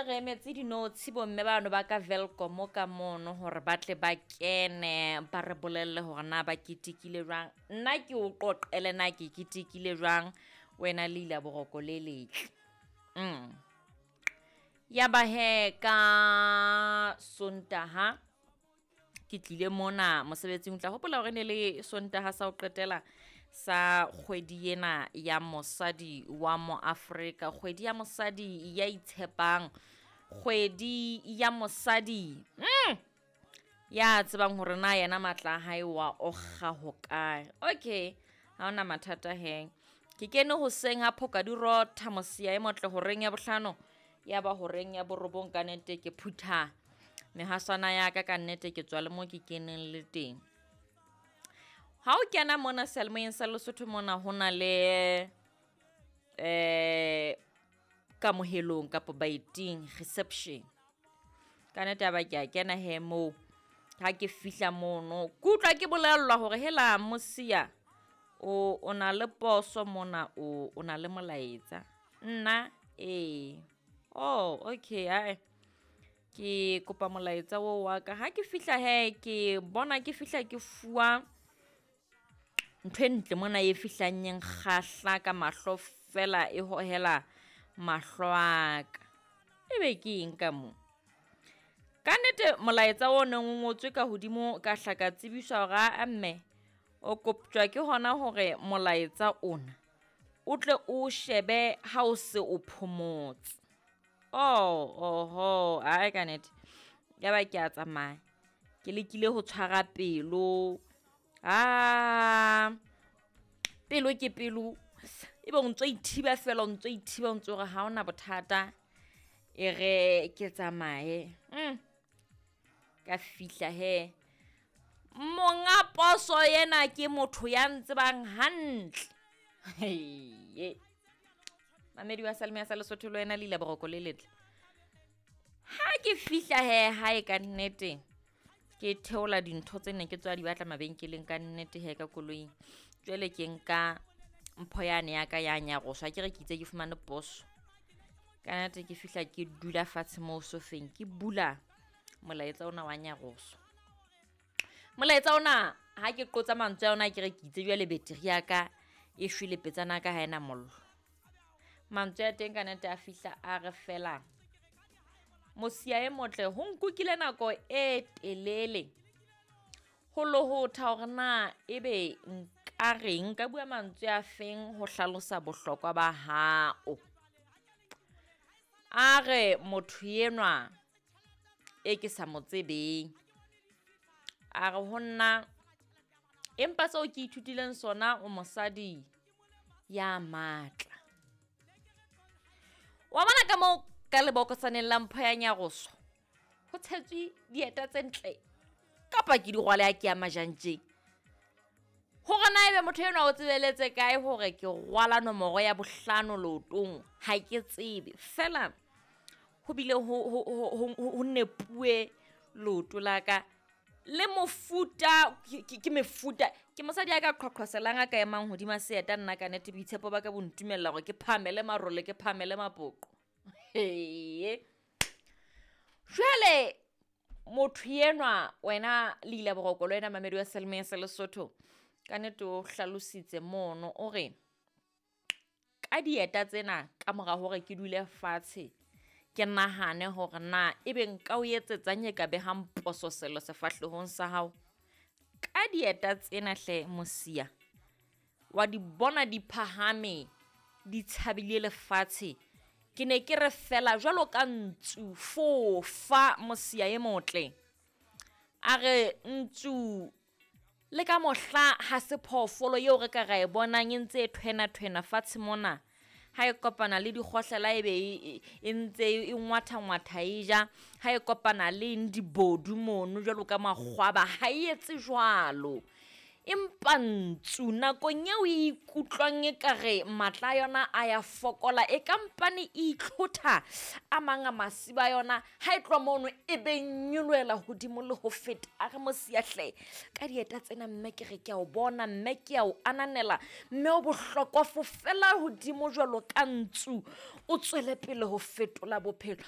ntse re emetse dinotshi bomme bano ba ka Welkom ka mono hore ba tle ba kene ba re bolelle hore na ba ketekile jwang. Nna ke o qoqele na ke ketekile jwang wena le ila boroko le letle. Ya ba he ka Sontaha ke tlile mona mosebetsing, o tla hopola hore ne le Sontaha sa ho qetela sa kgwedi ena ya mosadi wa mo Afrika, kgwedi ya mosadi ya itshepang, kgwedi ya mosadi ya tsebang hore na yena matla a hae wa okga hokae. Okay, ha hona mathata hee. Ke kene hoseng ha phoka di rotha mosiya e motle horeng ya bohlano, ya ba horeng ya borobong ka nnete ke phutha mehaswane ya ka nnete ke tswa le mo ke keneng le teng. Ha o kena mona seyalemoyeng sa Lesotho mona ho na le kamohelong kapa baeting, reception. Ka nnete ya ba ke a kena hee moo, ha ke fihla mono ke utlwa ke bolellwa hore hela mosiya o na le poso mona, o na le molaetsa. Nna ee, oh okay ae ke kopa molaetsa oo wa ka. Ha ke fihla hee ke bona ke fihla ke fuwa ntho e ntle mona e fihlang e nkgahla ka mahlo fela e hohela mahlo a ka. Ebe ke eng ka mo? Ka nnete molaetsa o neng o ngotswe ka hodimo ka hla ka tsebiswa hore aa mme o koptjwa ke hona hore molaetsa ona o tle o shebe ha o se o phomotse. Oh, oho, ae ka nnete. Ya ba ke a tsamaya, ke lekile ho tshwara pelo. Pelo ke pelo, ebe o ntso ithiba fela, o ntso ithiba, o ntso re ha hona bothata, e re ke tsamaye. Ka fihla hee, monga poso yena ke motho ya ntsebang hantle. Heye. Mamedi wa Seyalemoya sa Lesotho le wena le ila boroko le letle. Ha ke fihla hee hae ka nnete, ke theola dintho tse ne ke tswa di batla mabenkeleng ka nnete hee ka koloing. Jwale ke nka mpho yane ya ka ya nyaroswa, akere ke itse ke fumane poso. Ka nnete ke fihla ke dula fatshe moo sofeng, ke bula molaetsa ona wa nyaroso. Molaetsa ona ha ke qotsa mantswe a ona akere ke itse jwale battery ya ka e shwele petsana ya ka ha ena mollo. Mantswe a teng ka nnete a fihla a re fela, mosiya e motle ho nkukile nako e telele ho lohotha hore na ebe nka reng, nka bua mantswe a feng ho hlalosa bohlokwa ba hao. A re motho enwa e ke sa mo tsebeng, a re ho nna empa seo ke ithutileng sona o mosadi ya matla. Wa bona ka moo ka lebokosaneng la mpho ya nyaroso ho tshetswe dieta tse ntle kapa ke di rwale ha ke ya majantjeng. Hore na ebe motho enwa o tsebeletse kae hore ke rwala nomoro ya bohlano leotong, ha ke tsebe. Fela ho bile ho nepuwe leoto la ka le mofuta, ke mefuta. Ke mosadi ya ka qhwaqhwaselang a ka emang hodima seeta nna ka nnete boitshepo ba ka bo ntumella hore ke phahamele marole, ke phahamele mapoqo. Heye. Jwale motho enwa wena le ila boroko le wena mamedi wa Seyalemoya sa Lesotho, ka nnete o hlalositse mono o re ka dieta tsena ka mora hore ke dule fatshe ke nahane hore na ebe nka o etsetsang e ka behang pososelo sefahlehong sa hao. Ka dieta tsena hle mosiya, wa di bona di phahame, di tshabile lefatshe. Ke ne ke re fela jwalo ka ntsu fofa mosiya e motle. A re ntsu le ka mohla ha se phoofolo eo re ka ra e bonang e ntse e thwena-thwena fatshe mona. Ha e kopana le dikgohlela ebe e ntse e ngwatha-ngwatha e ja. Ha e kopana le eng dibodu mono jwalo ka makgwaba, ha e etse jwalo. Empa ntsu nakong eo e ikutlwang ekare matla a yona a ya fokola, e kampane e itlhotha a mang a masiba a yona, ha e tloha mono e be nyolohela hodimo le ho feta. A re mosiya hle, ka dieta tsena mme ke re ke a o bona, mme ke a o ananela, mme o bohlokwa fofela hodimo jwalo ka ntsu, o tswele pele ho fetola bophelo.